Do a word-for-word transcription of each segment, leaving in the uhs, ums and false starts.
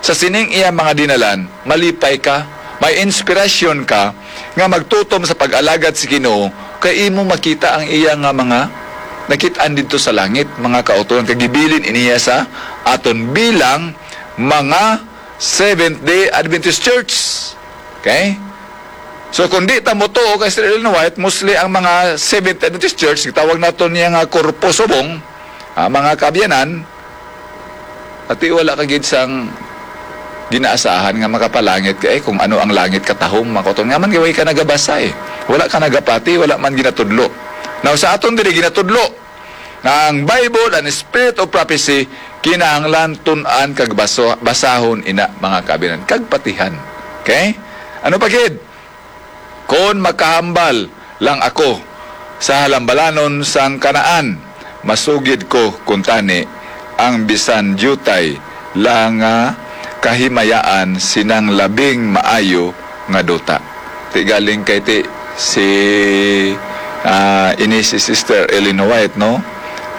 sa sining iya mga dinalan, malipay ka, may inspirasyon ka nga magtutom sa pag-alagad sa Ginoo, kay imo makita ang iya nga mga nakit-an didto sa langit, mga kauturan, kag gibilin iniya sa aton bilang mga Seventh Day Adventist Church. Okay? So, kung di ta motuo kay Sister Ellen White, mostly ang mga Seventh Day Adventist Church, gitawag nato niya nga korpo subong, ah, mga kaabyanan, ati wala ka gid sang ginaasahan nga makapalangit ka, eh, kung ano ang langit katahom, makuton nga man, way ka nagabasa, eh. Wala ka nagapati, wala man ginatudlo. Now, sa aton diri ginatudlo nga ang Bible, ang Spirit of Prophecy, kinahanglan tun-an kag baso-, basahon ina, mga kaabyanan, kag patihan. Okay? Ano pa gid? Kon makahambal lang ako sa halambalanon sang Kanaan, masugid ko kuntani ang bisan diutay lang nga kahimayaan sinang labing maayo nga duta. Ti galing kay ti si, ah, ini si Sister Ellen White, no?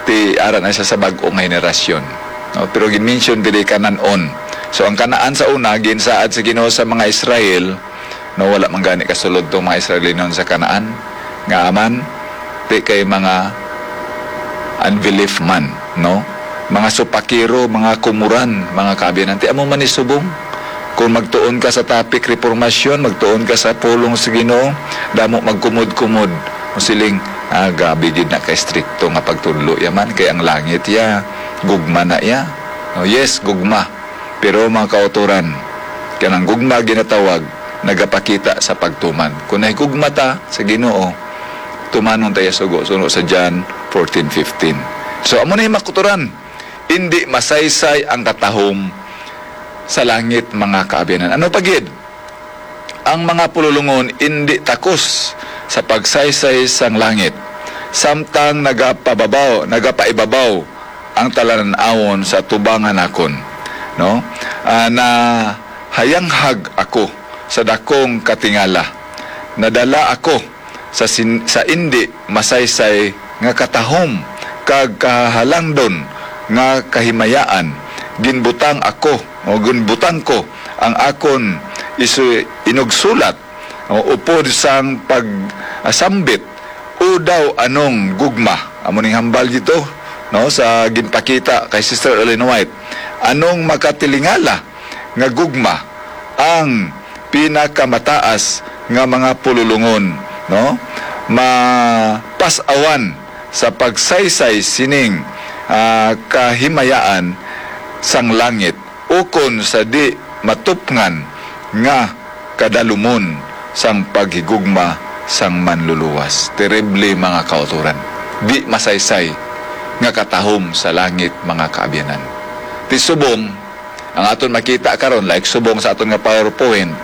Ti ara na siya sa bag-o nga henerasyon, no? Pero gin-mention diri Canaan. So ang Kanaan sa una ginsaad sa Ginoo sa mga Israel, no, wala man gani kasulod tong mga Israelinon sa Kanaan, nga aman ti kay mga unbelief man, no? Mga supakero, mga kumuran, mga kaabyanan, ti amo man ni subong. Kung magtuon ka sa topic reformasyon, magtuon ka sa pulong sa Ginoo, damo magkumod-kumod. Mo siling, ah, gabi gid na ka estrikto nga pagtudlo ya man, kay ang langit ya, gugma na ya. No, yes, gugma. Pero mga kauturan, kanang gugma ginatawag nagapakita sa pagtuman. Kung nahigugma ta sa Ginoo, tumanon ta ya sugo, suno sa John fourteen fifteen. So, amo na yung mga kauturan. Indi masaysay ang katahom sa langit, mga kaabyanan. Ano pa gid? Ang mga pululungon indi takos sa pagsaysay sang langit, samtang nagapababaw, nagapaibabaw ang talan-awon sa tubangan nakon, no? Ah, nahayanghag ako sa dakong katingala. Nadala ako sa sin-, sa indi masaysay nga katahom kag kahalangdon nga kahimayaan. Ginbutang ako, o ginbutang ko ang akon isu-, inugsulat, o upod sang pag-asambit, "O daw anong gugma?" Amo ning hambal dito, no, sa ginpakita kay Sister Ellen White. Anong makatilingala nga gugma ang pinakamataas nga mga pululungon, no, mapas-awan sa pagsaysay sining, ah, kahimayaan sang langit, ukon sa di matupngan nga kadalumon sang paghigugma sang Manluluwas. Terrible, mga kauturan. Di masaysay nga katahom sa langit, mga kaabyanan. Ti subong, ang aton makita karon, like subong sa aton nga PowerPoint,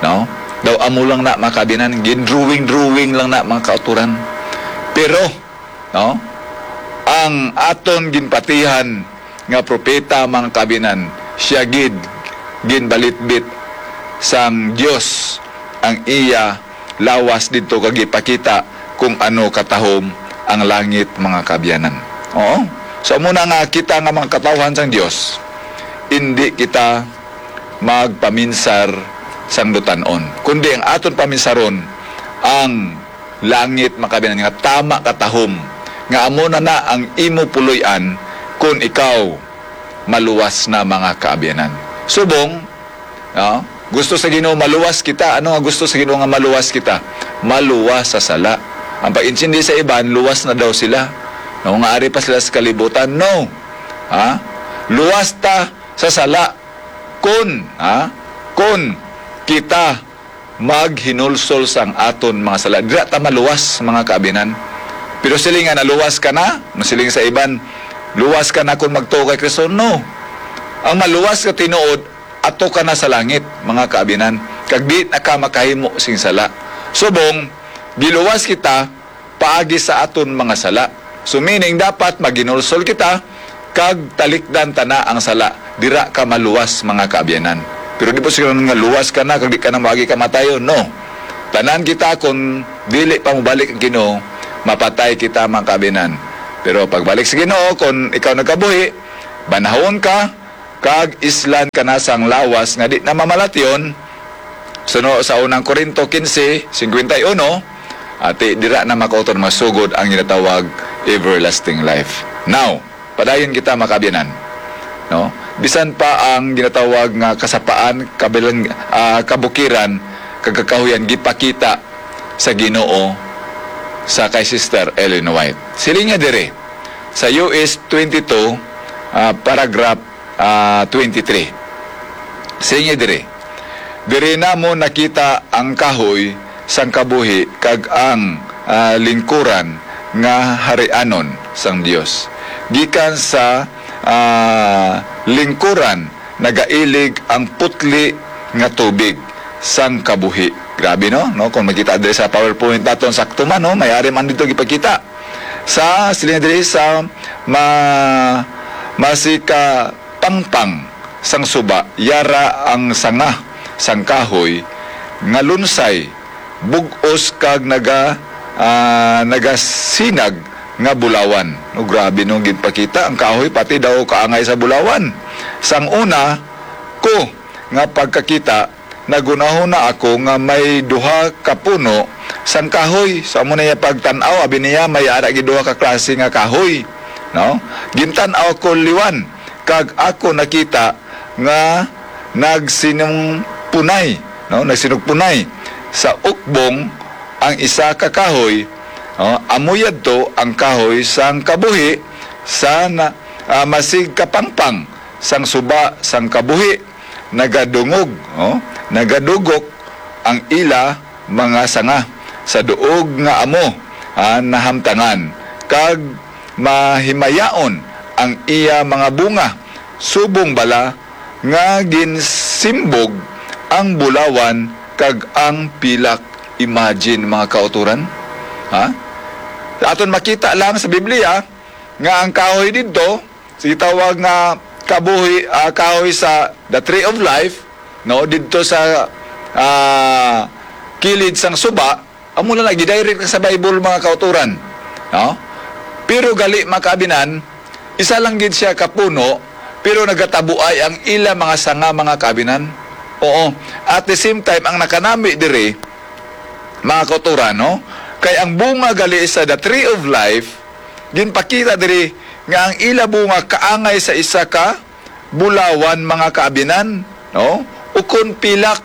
no? Daw amo lang na, mga kaabyanan, gin-drawing-drawing lang na, mga kauturan. Pero, no, ang aton ginpatihan nga propeta, mga kaabyanan, siya gid ginbalitbit sang Dios ang iya lawas didto kag ipakita kung ano katahom ang langit, mga kaabyanan. Oo. So, amo na nga kita nga mga katawhan sang Dios, indi kita magpaminsar sang dutan-on, kundi ang aton paminsaron ang langit, mga kaabyanan, nga tama katahom, nga amo na na ang imo puloy-an kon ikaw maluwas na, mga kaabyanan. Subong, no? Gusto sa Ginoo maluwas kita. Ano nga gusto sa Ginoo nga maluwas kita? Maluwas sa sala. Ang pag-intindi sa iban, luwas na daw sila. No, nga ari pa sila sa kalibutan. No. Ha? Luwas ta sa sala. Kun, ha? Kun kita maghinulsol sang aton mga sala, dira ta maluwas, mga kaabyanan. Pero siling nga naluwas ka na, masiling sa iban, "Luwas ka na kung magtuo kay Kristo." No. Ang maluwas ka tinuod, ato ka na sa langit, mga kaabyanan, kag di na ka makahimo sing sala. Subong, giluwas kita paagi sa aton mga sala. So, meaning, dapat maghinulsol kita kag talikdan ta na ang sala. Dira ka maluwas, mga kaabyanan. Pero di po siguro nga luwas ka na kag di ka na maagi kamatayon. No. Tanan kita, kung dili pa mobalik ang Ginoo, mapatay kita, mga kaabyanan. Pero pagbalik sa Ginoo, kung ikaw nagkabuhi, banahon ka, kag islan kana sang lawas nga di na mamalatyon, suno sa unang Corinto quince cincuenta y uno, ati dira na makauton masugod ang ginatawag everlasting life. Now, padayon kita, mga kaabyanan, no? Bisan pa ang ginatawag nga kasapaan, kabilang, ah, kabukiran, kag kakahuyan gipakita sa Ginoo sa kay Sister Ellen White. Siling niya diri sa U S twenty-two, ah, paragraph, ah, twenty-three. Siling niya diri, "Diri namo nakita ang kahoy sang kabuhi kag ang, ah, lingkuran nga harianon sang Dios. Gikan sa, ah, lingkuran nagailig ang putli nga tubig sang kabuhi." Grabe, no? No, kung makita diri sa PowerPoint naton, sakto man, no? May ari man dito gipakita. Sa, siling diri sa ma-, masikapangpang sang suba, yara ang sanga sang kahoy nga lunsay, bug-os kag naga-, ah, nagasinag nga bulawan. No, grabe, no, ginpakita ang kahoy, pati daw kaangay sa bulawan. Sang una ko nga pagkakita, naghunahuna ako nga may duha ka puno sang kahoy. So, amo na iya pagtan-aw, abi niya, may ara gid duha ka klase nga kahoy, no? Gintan-aw ko liwan, kag ako nakita nga nagsinugpunay, no? Nagsinugpunay sa ukbong ang isa ka kahoy, no? Amo yadto ang kahoy sang kabuhi sa na-, ah, masigkapangpang sang suba sang kabuhi. Nagadungog, oh, nagadugok ang ila mga sanga sa duog nga amo, ah, nahamtangan, kag mahimayaon ang iya mga bunga, subong bala nga ginsimbog ang bulawan kag ang pilak. Imagine, mga kauturan, ha? Aton makita lang sa Biblia nga ang kahoy didto, sige, tawag nga kabuhi, ah, kahoy sa the tree of life, no, didto sa, ah, kilid sang suba, amo na lagi direct sa Bible, mga kauturan, no? Pero gali, mga kaabinan, isa lang gid siya ka puno, pero nagatabuay ang ila mga sanga, mga kaabinan. Oo. At the same time, ang nakanami diri, mga kauturan, no? Kay ang bunga gali sa the tree of life, ginpakita diri nga ang ila bunga kaangay sa isa ka bulawan, mga kaabinan, no? Ukon pilak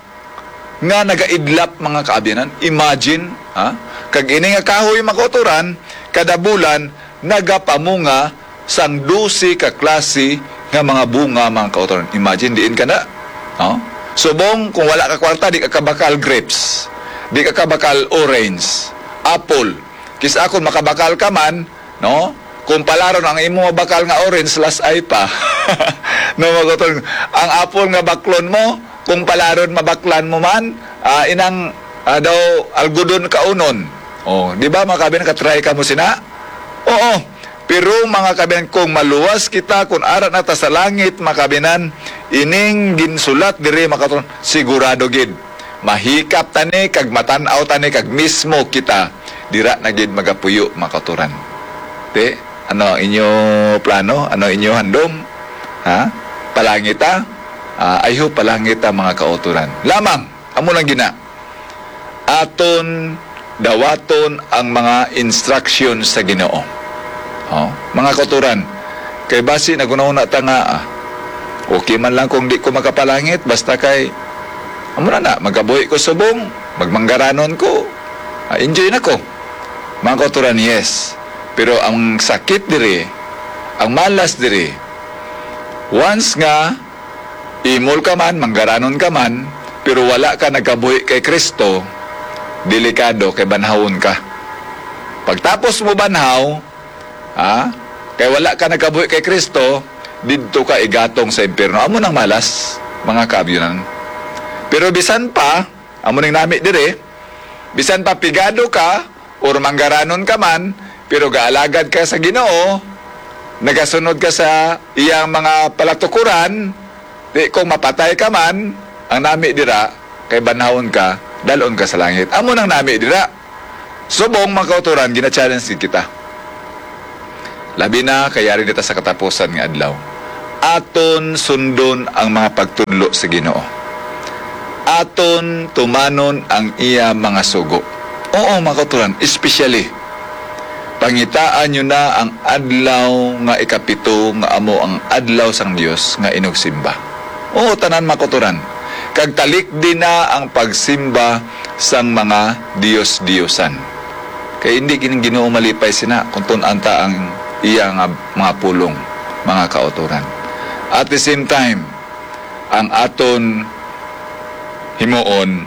nga nagaidlap, mga kaabinan. Imagine, ha? Kag ini nga kahoy, mga kauturan, kada bulan nagapamunga sang dose ka klase nga mga bunga, mga kauturan. Imagine, diin ka na, no? Subong, kung wala ka kwarta, di ka kabakal grapes, di ka kabakal orange, apple. Kis-a kung makabakal ka man, no? Kung palaron ang imo mabakal nga orange, lasay pa. No, mga kauturan, ang apple nga baklon mo, kung palaron mabaklan mo man, ah, inang, ah, daw algodon kaunon. Oh, di ba, mga kaabinan, ka-try ka mo sina? Oo. Pero, mga kaabinan, kung maluwas kita, kung ara na ta sa langit, mga kaabinan, ining ginsulat diri, mga kauturan, sigurado gid. Mahikap ta ni, kag matan-aw ta ni, kag mismo kita dira na gid magapuyo, mga kauturan. Te, ano ang inyo plano? Ano ang inyo handom? Ha? Palangit ta? Ah, I hope palangit ta, mga kauturan. Lamang, amo lang gina. Aton dawaton ang mga instruction sa Ginoo. Oh, mga kauturan, kay basi naghunahuna ta nga, ah, okay man lang kung di ko makapalangit, basta kay, amo na na, magabuhi ko subong, magmanggaranon ko, ah, enjoy na ko. Mga kauturan, yes. Pero ang sakit diri, ang malas diri, once nga imol ka man, manggaranon ka man, pero wala ka nagkabuhi kay Kristo, delikado kay banhawon ka. Pagtapos mo banhaw, ha, kay wala ka nagkabuhi kay Kristo, didto ka igatong sa impyerno. Amo nang malas, mga kaabyanan. Pero bisan pa, amo ning nami dire, bisan pa pigado ka, or manggaranon ka man, pero gaalagad ka sa Ginoo, nagasunod ka sa iyang mga palatukuran, di kung mapatay ka man, ang nami dira, kay banhawon ka, dalon ka sa langit. Amo nang nami dira. Subong, mga kauturan, gina-challenge gid kita. Labi na kay yari na ta sa katapusan nga adlaw. aton sundon ang mga pagtudlo sa Ginoo. Aton tumanon ang iya mga sugo. Oo, mga kauturan, especially, pangitaan nyo na ang adlaw nga ikapito, nga amo ang adlaw sang Dios nga inugsimba. Oo, tanan, mga kauturan. Kag talikdi na ang pagsimba sang mga dios-diosan. Kay hindi gid ang Ginoo malipay sina kung tun-an ta ang iya nga mga pulong, mga kauturan. At the same time, ang aton himuon,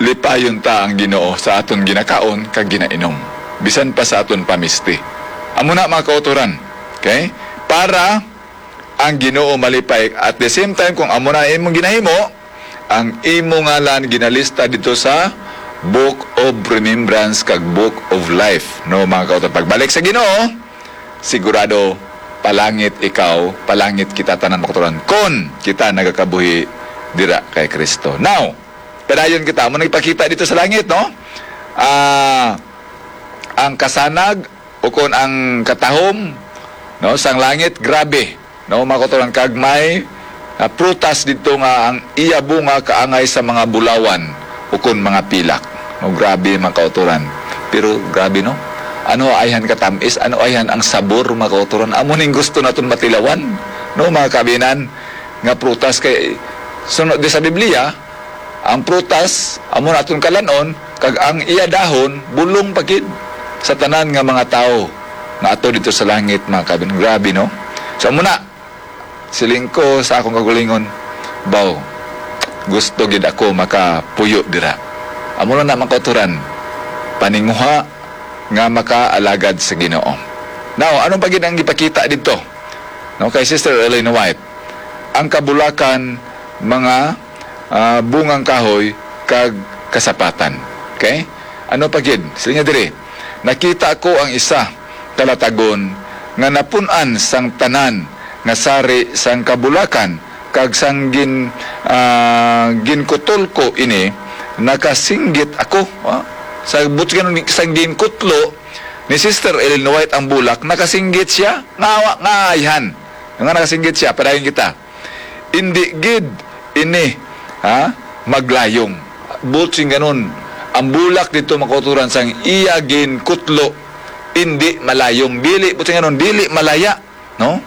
lipayon ta ang Ginoo sa aton ginakaon kag ginainom, bisan pa sa aton pamisti. Amo na, mga kauturan. Okay? Para ang Ginoo malipay. At the same time, kung amo na imong ginahimo, ang imo ngalan ginalista dito sa Book of Remembrance kag Book of Life, no, mga kauturan. Pagbalik sa Ginoo, sigurado, palangit ikaw, palangit kita tanan, mga kauturan, kon kita nagakabuhi dira kay Kristo. Now, padayon kita, amo nagpakita dito sa langit, no? Ah, ang kasanag, ukon ang katahom, no, sang langit, grabe, no, mga kauturan, kag may, ah, prutas didto nga ang iya bunga kaangay sa mga bulawan ukon mga pilak, no. Grabe, mga kauturan. Pero grabe, no, ano ayhan katamis, ano ayhan ang sabor, mga kauturan. Amo ning gusto naton matilawan, no, mga kabinan, nga prutas. Kay sunod di sa Biblia, ang prutas amo na aton kalan-on, kag ang iya dahon bulong pa gid sa tanan nga mga tawo nga ato dito sa langit, mga kabin. Grabe, no? So, amo na, siling ko sa akong kagulingon, "Baw, gusto gid ako makapuyo dira." Amo na na, mga kauturan, paninguha nga makaalagad sa Ginoo. Now, ano pa gid ang ipakita dito, no, kay Sister Ellen White? Ang kabulakan, mga, ah, bungang kahoy, kag kasapatan. Okay? Ano pa gid? Siling niya diri, "Nakita ko ang isa ka latagon nga napun-an sang tanan nga sari sang kabulakan, kag sang gin-, ah, ginkutol ko ini, nakasinggit ako." Ah, sa butngan sang ginkutlo ni Sister Ellen White ang bulak, nakasinggit siya. Nga, nga ayhan nga nakasinggit siya, padayon kita. Indi gid ini, ha, maglayong. Buot silingon, ang bulak dito, mga kauturan, sang iya ginkutlo, indi malayong. Dili, buot silingon, dili malaya, no?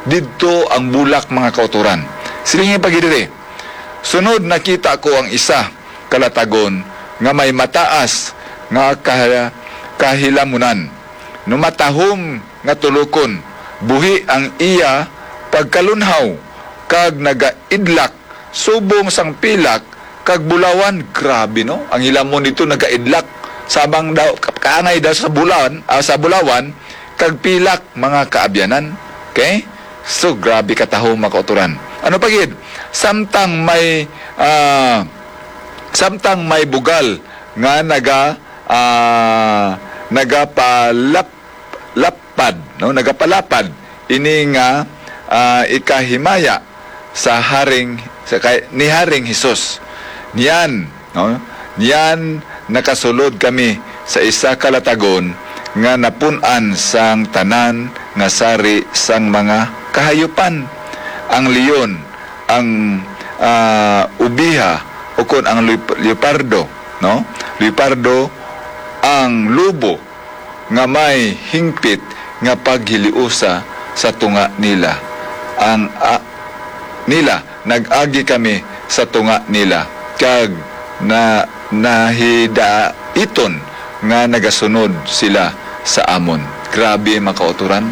Didto ang bulak, mga kauturan. Siling pa gid diri, "Sunod nakita ko ang isa ka latagon nga may mataas nga kaha-, kahilamunan, no, matahom nga tulokon, buhi ang iya pagkalunhaw, kag nagaidlak subong sang pilak kag bulawan." Grabe, no? Ang hilamon dito nagaidlak. Samang daw, ka-, kaangay daw sa bulan, ah, sa bulawan, kag pilak, mga kaabyanan. Okay? So, grabe katahom, mga kauturan. Ano pa gid? Samtang may, ah, samtang may bugal nga naga-, ah, nagapalap-, lapad, no? Nagapalapad ini nga, ah, ikahimaya sa haring, sa kay, ni Haring Jesus. Niyan, no? Niyan nakasulod kami sa isa ka latagon nga napun-an sang tanan nga sari sang mga kahayupan. Ang leon, ang, ah, ubiha, ukon ang leop-, leopardo, no? Leopardo, ang lobo, nga may hingpit nga paghiliusa sa tunga nila. Ang, a-, nila, nag-agi kami sa tunga nila, kag na-, nahidaiton nga nagasunod sila sa amon. Grabe, mga kauturan.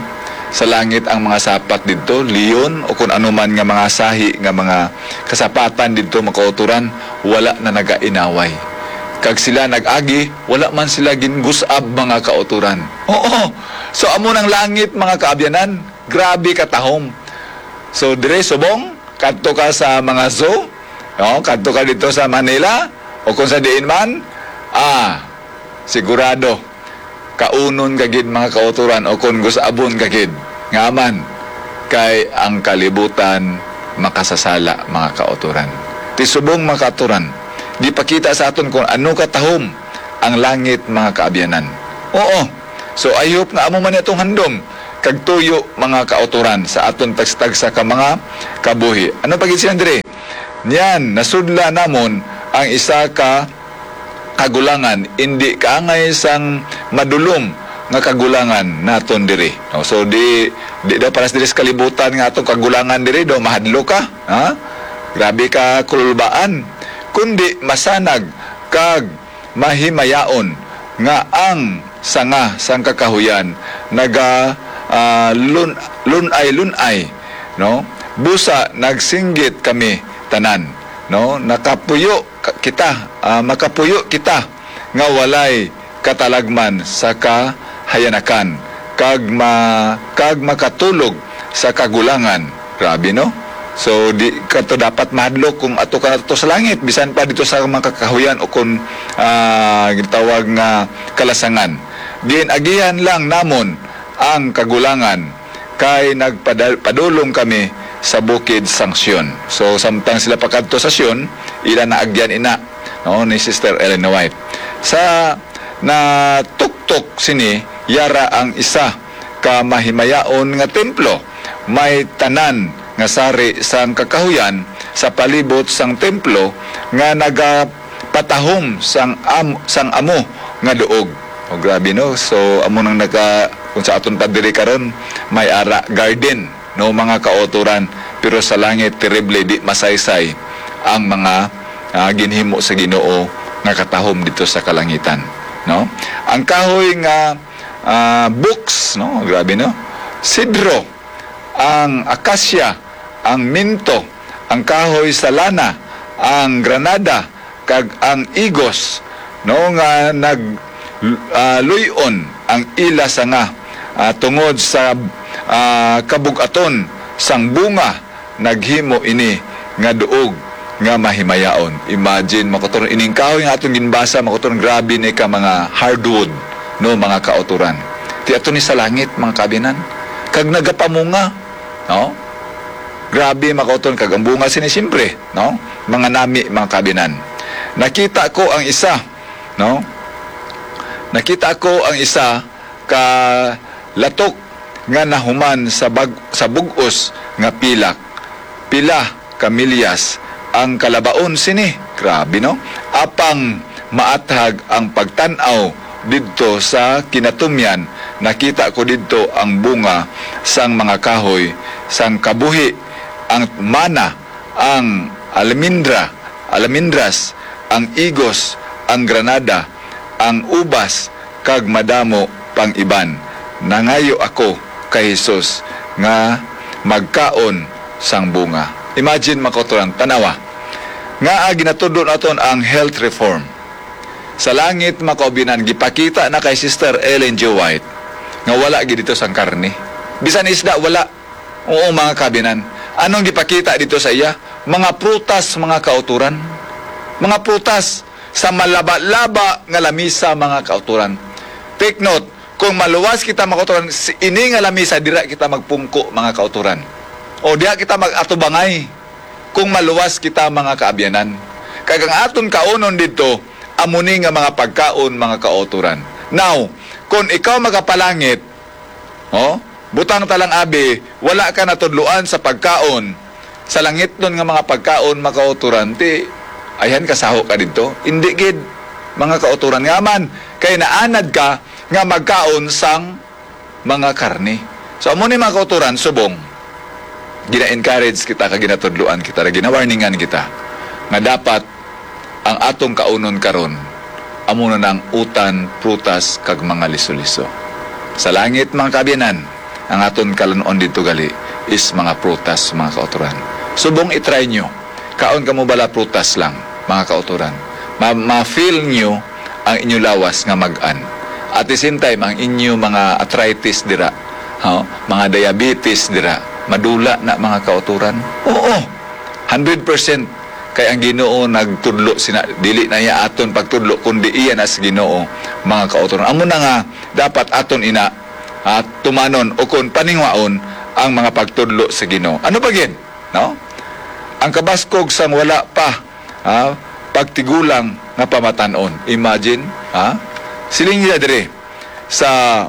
Sa langit ang mga sapat didto, leon, o kon anuman nga mga sahi nga mga kasapatan didto, mga kauturan, wala na nagainaway. Kag sila nag-agi, wala man sila gingus-ab, mga kauturan. Oo. So, amo nang langit, mga kaabyanan. Grabe katahom. So, dire subong, kadto ka sa mga zoo, no? Kadto ka dito sa Manila, o kung sa diin man, ah, sigurado, kaunon ka gid, mga kauturan, o kon gus-abon ka gid. Nga man, kay ang kalibutan makasasala, mga kauturan. Ti subong, mga kauturan, gipakita sa aton kung ano katahom ang langit, mga kaabyanan. Oo. So, I hope nga amo man atong handom kag tuyo, mga kautoran, sa aton tagsa-tagsa ka mga kabuhi. Ano pa gid siya diri? Niyan, nasudla namon ang isa ka kagulangan, indi kaangay sang madulom nga kagulangan naton diri. No? So, di, di daw paras diri sa kalibutan nga atong kagulangan diri, daw mahadlok ka, ha? Grabe ka kululbaan. Kundi masanag kag mahimayaon nga ang sanga sang kakahuyan naga, ah, lun-, lunay-lunay, no? Busa nagsinggit kami tanan, no? Nakapuyo ka-, kita, ah, makapuyo kita nga walay katalagman sa kahayanakan, kag ma-, kag makatulog sa kagulangan. Grabe, no? So, di ka to dapat mahadlok kung ato ka na to sa langit, bisan pa dito sa mga kakahuyan o kung, ah, gitawag nga kalasangan. Ginagihan lang namon ang kagulangan kay nagpadal-, padulong kami sa bukid sang Sion. So, samtang sila pakadto sa Sion, ila naagyan ina, no, ni Sister Ellen White. Sa natuktok sini, yara ang isa ka mahimayaon nga templo. May tanan nga sari sang kakahuyan sa palibot sang templo nga nagapatahom sang am-, sang amo nga duog. O, grabe, no? So, amo nang naka-, kung sa aton pa diri karon, may ara garden, no, mga kautoran. Pero sa langit, terrible, di masaysay ang mga, ah, ginhimo sa Ginoo nga katahom dito sa kalangitan, no? Ang kahoy nga, ah, box, no? Grabe, no? Sidro, ang akasya, ang minto, ang kahoy sa lana, ang granada, kag ang igos, no, nga nag, ah, luy-on ang ila sanga, ah, tungod sa, ah, kabug-aton sang bunga, naghimo ini nga duog nga mahimayaon. Imagine, mga kautoran, ining kahoy nga atong ginbasa, mga kautoran, grabe ni ka mga hardwood, no, mga kautoran. Ti ato ni sa langit, mga kabinan, kag nagapamunga, no? Grabe, mga kautoran, kag ang bunga sini, siyempre, no? Mga nami, mga kabinan. Nakita ko ang isa, no? Nakita ko ang isa ka latok nga nahuman sa bag-, sa bug-os nga pilak. Pila ka milyas ang kalabaon sini. Grabe, no? Apang maathag ang pagtan-aw didto sa kinatumyan, nakita ko didto ang bunga sang mga kahoy sang kabuhi, ang mana, ang almendra, almendras, ang igos, ang granada, ang ubas, kag madamo pang iban. Nangayo ako kay Jesus nga magkaon sang bunga. Imagine, mga kautoran, tanawa. Nga, ah, ginatudlo naton ang health reform. Sa langit, mga kaubinan, gipakita na kay Sister Ellen G. White nga wala gid dito sang karne. Bisan isda, wala. Oo, mga kabinan. Anong gipakita dito sa iya? Mga prutas, mga kauturan. Mga prutas sa malaba-laba nga lamisa, mga kauturan. Take note, kung maluwas kita, mga kauturan, si-, ini nga lamisa, dira kita magpungko, mga kauturan. O diha kita mag-atubangay kung maluwas kita, mga kaabyanan. Kag ang aton kaunon didto, amo ni nga mga pagkaon, mga kauturan. Now, kung ikaw magapalangit, oh, butang ta lang, abi, wala ka natudloan sa pagkaon, sa langitnon nga mga pagkaon, mga kauturan, ti, ayhan, kasaho ka didto. Indi gid, mga kauturan. Nga man, kay naanad ka nga magkaon sang mga karne. So, amo ni, mga kauturan, subong gina-encourage kita, kag ginatudloan kita, ginawarningan kita nga dapat ang atong kaunon karon amo na ang utan, prutas, kag mga liso-liso. Sa langit, mga kaabyanan, ang aton kalan-on didto gali is mga prutas, mga kauturan. Subong i-try nyo, kaon kamo bala prutas lang, mga kauturan. Ma-, ma-feel nyo ang inyo lawas nga mag-an. At the same time, ang inyo mga arthritis dira, ha, mga diabetes dira, madula na, mga kauturan. Oo, hundred percent. Kay ang Ginoo nagtudlo sina, dili na iya aton pagtudlo, kundi iya na sa Ginoo, mga kauturan. Amo na nga, dapat aton ina, ha, tumanon o kon paningwaon ang mga pagtudlo sa Ginoo. Ano pa gid? No? Ang kabaskog sang wala pa, ha, pagtigulang nga pamatan-on. Imagine, ha? Siling nila diri sa,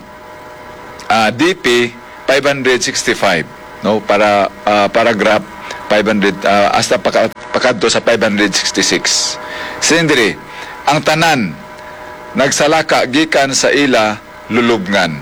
ah, D P, five hundred sixty-five, no, para, ah, paragraph five hundred, ah, hasta paka-, pakadto sa five hundred sixty-six. Siling diri, ang tanan nagsalaka gikan sa ila lulubngan,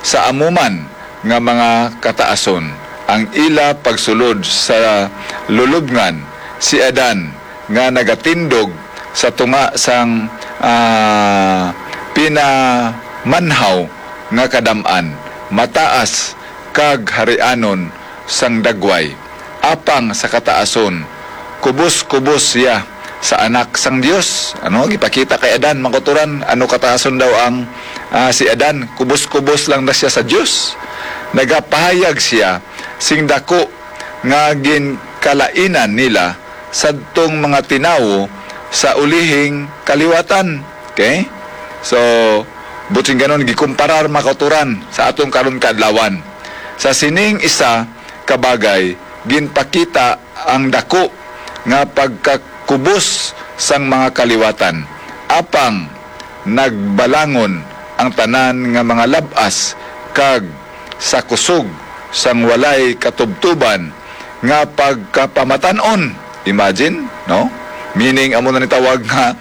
sa amo man nga mga kataason. Ang ila pagsulod sa lulubngan, si Adan nga nagatindog sa tunga sang, ah, pinamanhaw nga kadam-an, mataas kag harianon sang dagway, apang sa kataason, kubos-kubos sia sa Anak sang Dios. Ano, gipakita kay Adan, mga kauturan, ano kataason daw ang, ah, si Adan, kubos-kubos lang na sia sa Dios. Nagapahayag sia sing daku nga ginkalainan nila sadtong mga tinawo sa ulihing kaliwatan. Okay? So, buot silingon, gikumparar, mga kauturan, sa aton karon kaadlawan. Sa sining isa ka bagay, ginpakita ang daku nga pagkakubos sang mga kaliwatan, apang nagbalangon ang tanan nga mga lab-as kag sa kusog sang walay katubtuban nga pagkapamatan-on. Imagine, no? Meaning, amo na ni tawag nga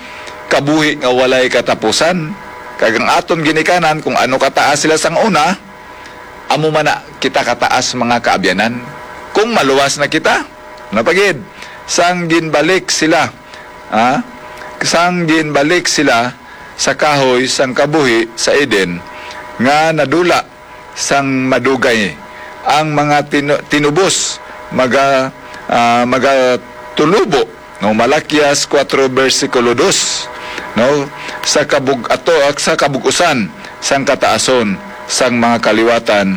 kabuhi nga walay katapusan. Kag ang aton ginikanan, kung ano kataas sila sang una, amo man na kita kataas, mga kaabyanan. Kung maluwas na kita, napagid, sang ginbalik sila, ha? Sang ginbalik sila sa kahoy sang kabuhi sa Eden, nga nadula sang madugay, ang mga tinu-, tinubos maga-, ah, magatulubo, no? Malakias kuwatro, bersikulo dos, no? Sa kabug-, ato, sa kabug-usan sang kataason sang mga kaliwatan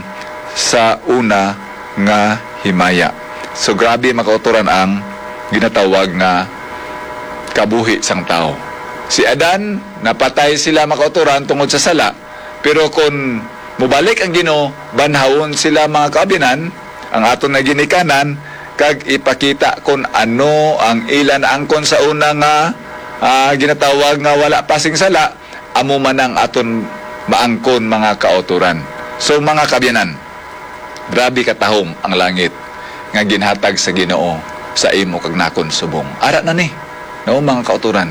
sa una nga himaya. So, grabe, mga kauturan, ang ginatawag nga kabuhi sang tawo. Si Adan, napatay sila, mga kauturan, tungod sa sala. Pero kon mubalik ang Ginoo, banhawon sila, mga kaabyanan, ang aton nga ginikanan, kag ipakita kon ano ang ila naangkon sa una nga, ah, ginatawag nga wala pa sing sala, amo man ang aton maangkon, mga kauturan. So, mga kaabyanan, grabe katahom ang langit nga ginhatag sa Ginoo sa imo kag nakon subong. Ara na ni, no, mga kauturan.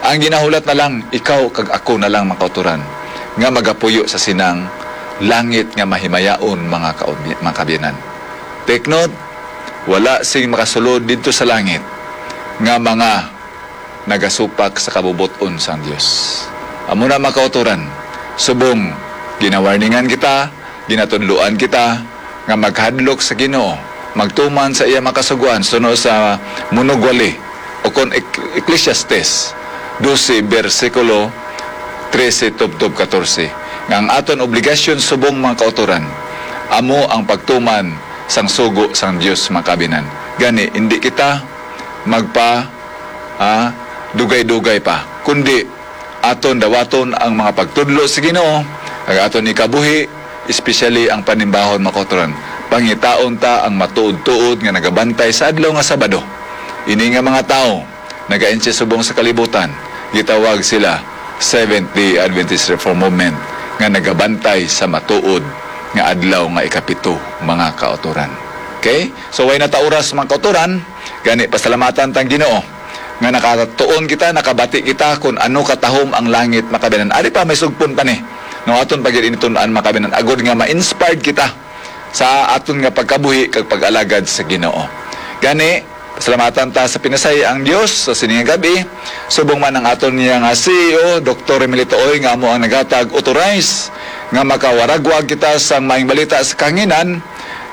Ang ginahulat na lang, ikaw kag ako na lang, mga kauturan, nga magapuyo sa sinang langit nga mahimayaon, mga kaub-, mga kaabyanan. Take note, wala sing makasulod didto sa langit nga mga nagasupak sa kabubot-on sang Dios. Amo na, mga kauturan, subong ginawarningan kita, ginatudloan kita nga maghadlok sa Ginoo, magtuman sa iya mga kasugoan, suno sa Munugwali, o kon Ek-, Ecclesiastes dose, bersikulo trese tubtob katorse, nga ang aton obligasyon subong mga kauturan amo ang pagtuman sang sugo sang Dios, mga kaabyanan. Gani, indi kita magpa, ah, dugay-dugay pa, kundi aton dawaton ang mga pagtudlo sa Ginoo, kag aton ikabuhi, especially ang panimbahon, mga kauturan. Pangitaon ta ang matuod-tuod nga nagabantay sa adlaw nga Sabado. Ini nga mga tawo, nagainsi subong sa kalibutan, gitawag sila Seventh-day Adventist Reform Movement, nga nagabantay sa matuod nga adlaw nga ikapito, mga kauturan. Okay? So, way na ta oras, mga kauturan. Gani, pasalamatan tang Ginoo nga nakatuon kita, nakabati kita kun ano katahom ang langit, mga kaabyanan. Ari pa, may sugpon pa ni. No, aton pa gid ini tun-an, mga kaabyanan, agod nga ma-inspired kita sa aton nga pagkabuhi kag pag-alagad sa Ginoo. Gani, pasalamatan ta sa pinasay ang Dios sa sini nga gab-i. Subong man ang aton niya nga C E O, Doktor Remilito Oy, nga amo ang naghatag authorize nga makawaragwag kita sang maayong balita sa kahanginan,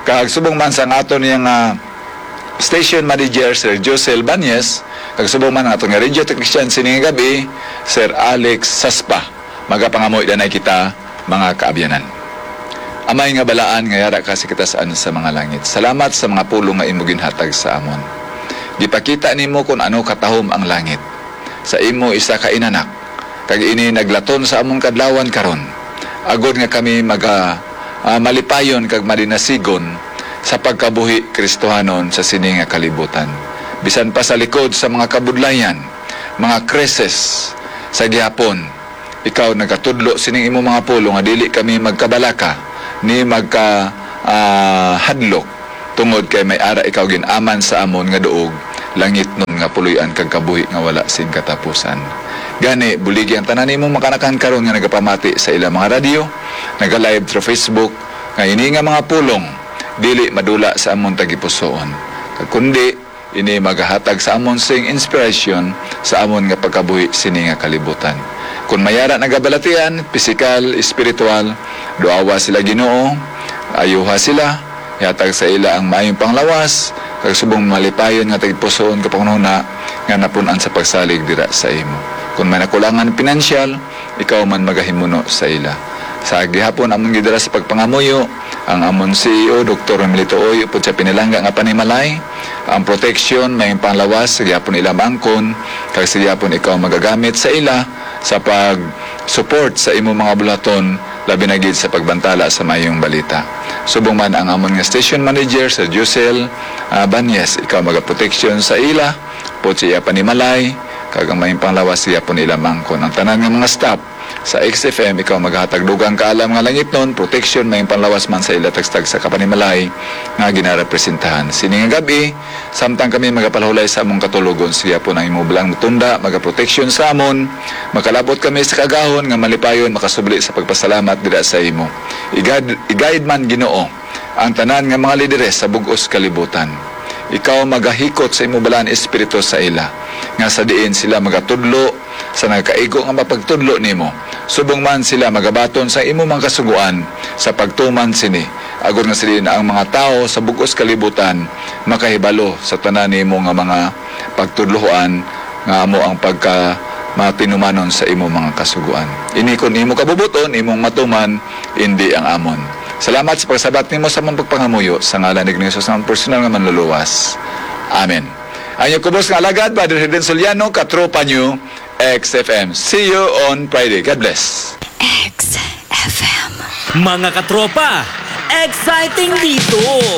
kag subong man sa aton niya nga station manager, Sir Josel Banyes, kag subong man ang aton nga radio technician sini nga gab-i, Sir Alex Saspa. Magapangamuy danay kita, mga kaabyanan. Amay nga balaan nga yara ka sa kitaas-an sa mga langit, salamat sa mga pulong nga imo ginhatag sa amon. Gipakita nimo kon ano katahom ang langit sa imo isa ka inanak, kag ini naglaton sa amon kadlawan karon, agod nga kami maga-, ah, malipayon kag malinasigon sa pagkabuhi Kristohanon sa sini nga kalibutan. Bisan pa sa likod sa mga kabudlayan, mga krisis sa gihapon, ikaw nagatudlo sining imo mga pulong nga dili kami magkabalaka ni magka-, ah, hadlok, tungod kay may ara ikaw gin-aman sa amon nga duog, langitnon nga puloy-an kag kabuhi nga wala sing katapusan. Gani, buligi ang tanan nimo makanakan karon nga nagapamati sa ilang mga radyo, naga-live through Facebook, nga ini nga mga pulong dili madula sa amon tagipusoon, kag kundi ini magahatag sa amon sing inspirasyon sa amon nga pagkabuhi sini nga kalibutan. Kon may ara nagabalatian, pisikal, espiritual, duawa sila, Ginoo, ayuha sila, ihatag sa ila ang maayong panglawas, kag subong malipayon nga tagipusoon ka panghunahuna nga napun-an sa pagsalig dira sa imo. Kon may nakulangan pinansyal, ikaw man magahimuno sa ila. Sa gihapon amon gidala sa pagpangamuyo ang amon C E O, Doktor Romelito Uy, upod sa pinalangga nga panimalay, ang proteksyon, may panglawas sa gihapon ila maangkon, kag sa gihapon ikaw magagamit sa ila sa pag-support sa imo mga bulaton, labi na gid sa pagbantala sa maayong balita. Subong man ang amon nga station manager, Sir Josel, ah, Banyes, ikaw magaproteksyon sa ila, upod sa iya panimalay, kag ang maayong panglawas sa gihapon ila maangkon. Ang tanan nga mga staff sa X F M, ikaw maghatag dugang kaalam nga langitnon, proteksyon, maayong panglawas man sa ila tagsa-tagsa ka panimalay nga ginarepresentahan. Sini nga gab-i, samtang kami magapalahulay sa among katulogon, sa gihapon ang imo balaang tunda magaproteksyon sa amon, makalabot kami sa kaagahon nga malipayon makasubli sa pagpasalamat dira sa imo. Igad-, i-guide man, Ginoo, ang tanan nga mga lideres sa bug-os kalibutan. Ikaw magahikot sa imo balaan espiritu sa ila, nga sa diin sila magatudlo sa nagakaigo nga mapagtudlo nimo. Subong man sila magabaton sa imo mga kasugoan sa pagtuman sini, agod nga sa diin ang mga tawo sa bug-os kalibutan makahibalo sa tanan nimo nga mga pagtudloan, nga amo ang pagka matinumanon sa imo mga kasugoan. Ini kon imo kabubuton, imong matuman, indi ang amon. Salamat sa pagsabat nimo sa among pagpangamuyo, sa ngalan ni Ginoong Jesus, ang personal nga Manluluwas. Amen. Ang inyong kubos nga alagad, Brother Herden Soliano, katropa niyo, X F M. See you on Friday. God bless. X F M. Mga katropa, exciting dito!